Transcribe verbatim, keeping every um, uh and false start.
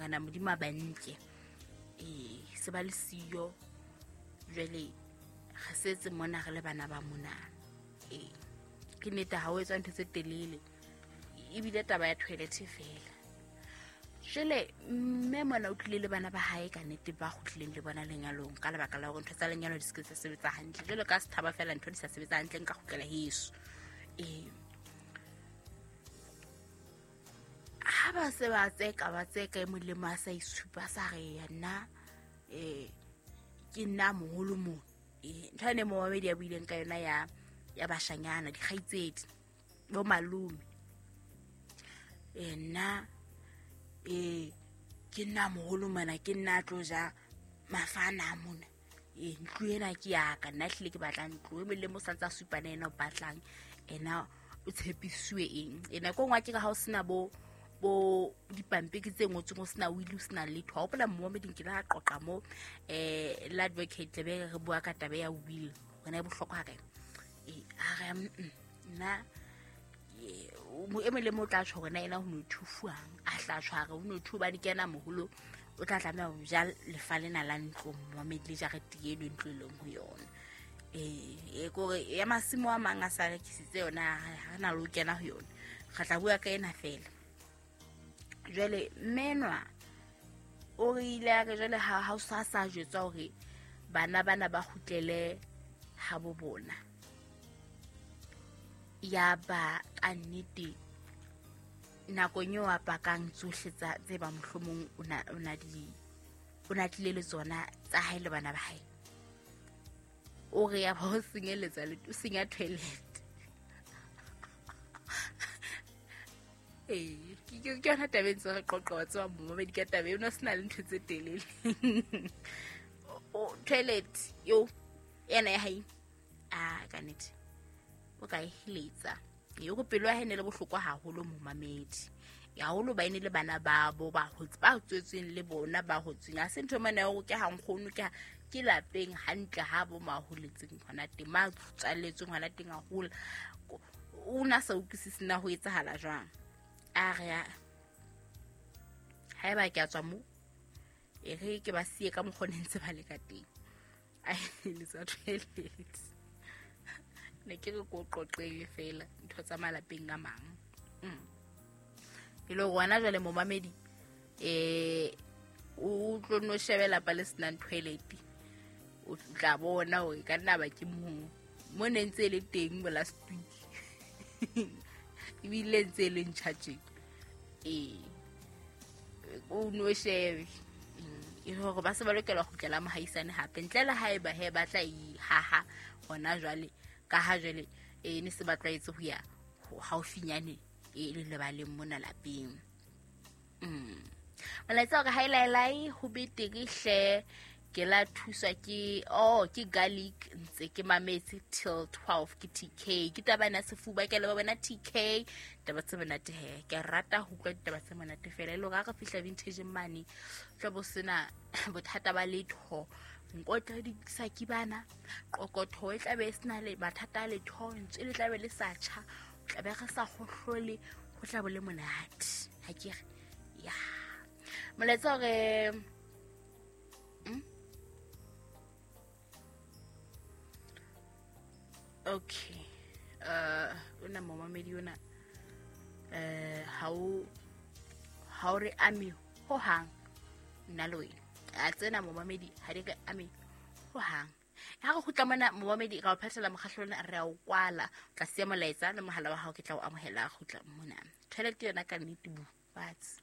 Morena Modimo a ba nke. Eh se ba le siyo jwale re setse mona re le bana ba mona. Eh ke nnete ha o etswa ntho tse telele ebile taba ya toilet fela. Jwale mme mona o tlile le bana ba hae ka nnete ba kgutlileng le bona lenyalong ka lebaka la hore ntho tsa lenyalo di se ke tsa sebetsa hantle. Jwale ka sethaba fela ntho di sa sebetsa hantle nka kgutlela heso. Eh ha ba se ba tseka ba tseka e molemo a sa itshupa sa re ya nna eh ke nna moholo mo. Eh ntho ene mo babedi ya buileng ka yona ya ya bashanyana dikgaitsedi bo malome. Eh nna eh ke nna moholo mana ke nna tlo ja mafana mona. Eh ntlo ena ke ya ka nna hlile ke batla ntlo e molemo sa ntsa supana ena o batlang ena o tshepisiwe eng ena ko ngwa ke ka ha o sena bo bo dipampiri tse ngotsweng o sena will o sena letho. Ha hopola momeding ke la qoqa mo eh la advocate tlabe re bua ka taba ya will hona e bohlokwa ha kae. Eh a re nna mo emele mo tla tjho hore ena ho no thufuang a hla tshware ho no thu ba di kena moholo o tla tlameha ho ja lefa lena la ntlo momedi le jarete e le ntlo leng ho yona. Eh e kore ya masimo a mang a sa rekisitse yona ha na lo kena ho yona re tla bua ka ena fela. Jwale menwa o re ile a re jwale ha ha sa sa jwetsa hore bana bana ba kgutlele ha bo bona. Ya ba ka nnete nakong eo a pakang tsohle tsa tse ba mohlomong o na o na di o na tlile le tsona tsa hae le bana ba hae. O re ya ba o senyeletsa le o senya toilet. Eh ke ke yona taba e ntse re qoqa wa tseba momedi ka taba eno se na le ntho tse telele. O toilet yo ena ya hae a ka nnete o ka e heletsa. E go pelo ya hae ne le bohlokwa haholo momamedi. Ya haholo ba ene le bana ba bo ba hotse ba tswetsweng le bona ba hotsweng. Ha se ntho mane ya hore ke ha nkgono ke ke lapeng hantle ha bo maholetseng hona teng ma tswaletsweng hona teng haholo. O na sa utlwisisi na ho etsahala jwang. A re haeba ke a tswa mo e re ke ba siye ka mokgwa ne ntse ba le ka teng. A heletsa toilet. Ne ke re ko qoqele fela ntho tsa malapeng a mang. Mm. E le hore jwale momamedi eh o tlo no shebela pa le senang toilet o tla bona hore ka nna ba ke mo mo ne ntse le teng mo last week. Ebile ntse le ntjha eh o no shebe e hore ba se ba lokela ho kgutlela mohaisane hape ntle le haeba he ba tla ihaha hona jwale ka ha jwale e ne se ba tlwaetse ho ya haufinyane e le lebaleng mona lapeng. Mm. Molaetsa hore haelaelai ho betere hle ke la thuswa ke oh ke garlic ntse ke mametse till twelve ke T K ke taba ena sefuba ke le bona T K taba tse monate he ke rata ho utlwa ditaba tse monate fela e le hore ha re fihla vintage mane tla bo sena bothata ba letho nkotla di saki bana qokotho e tlabe e sena le mathata a letho ntse le tlabe le sa tjha tlabe re sa kgohlole ho tla bo le monate ha ke re ya molaetsa hore mm? Okay. Uh ona momamedi ona eh ha o ha o re ame ho hang nna le wena. A tsena momamedi ha di re ame ho hang. Ha re kgutla mona momamedi ra o phethela mokgahlelo re a o kwala tla siya molaetsa le mohala wa hao ke tla o amohela kgutla mona. Toilet yona ka nnete bu fatshe.